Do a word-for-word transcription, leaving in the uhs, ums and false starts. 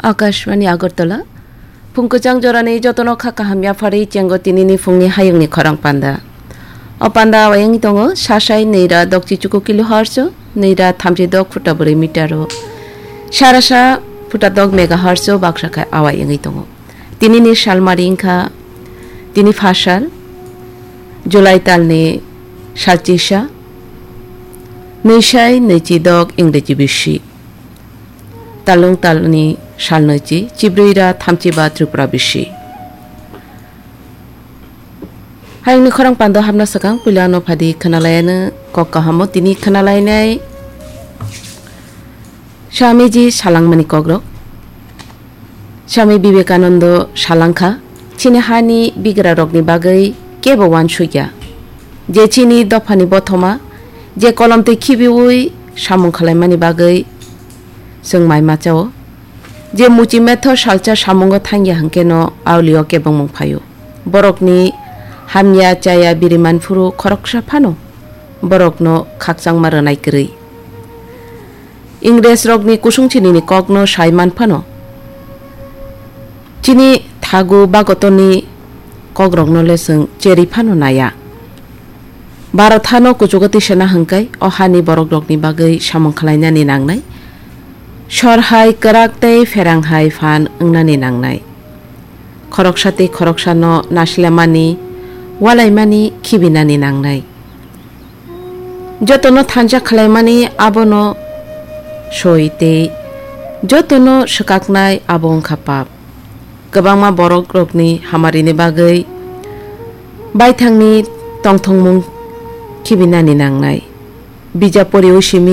Akashvani Agartala, phung kwchang jorani jotono kha kaham yapharwi chengo tinini phungni hayungni khorang panda. O panda awayangwi tongo, sasai nwi ra dokchi chuku kilohertz o, nwi ra thamchi dok phuta bwrwi meter o, sarasa phuta dok megahertz o baksa khai awayangwi tongo. Tinini salmari wngkha tini phasal, July talni salchisa, nwi sai nwichi dok Ingreji bisi. Talung talni salnwichi, chibrwi ra thamchi ba Tripura bisi. Hayungni khorang pando hapna swkang puila ano phadi khwnalaiyano kok kahamo tini khwnalainai Swamiji salangmani kokrok. Swami Vivekanando salangkha, chini hani bigrarokni bagwi kebo uansukya. Je chini dophani bothoma, je kolom twi khibiui samung khwlaimani bagwi chwng mai machao. Je muchi metho salsa samungo thangya hwnkhe no aulio kebengmung phaio. Borokni hamya chaya biriman phuru khoroksa phano borokno khakchangma rwnai kwrwi. Ingresrokni kusung chinini kokno sai man phano, chini thagu bagotoni kokrokno le chwng cheri phano naiya. Bharat hano kuchugo tisana hwnkhe o hani borokrokni bagwi samung khwlainani nangnai. Sor hai kwrak tei pherang hai phan wngnani nangnai. Khoroksa tei khoroksano naslemani, walaimani, khibinani nangnai. Jotono thansa khwlaimani abono soi tei jotono swkaknai abo wngkha pap. Kwbangma borokrokni hamarini bagwi baithangni tongthokmung khibinani nangnai. Bijap poriui simi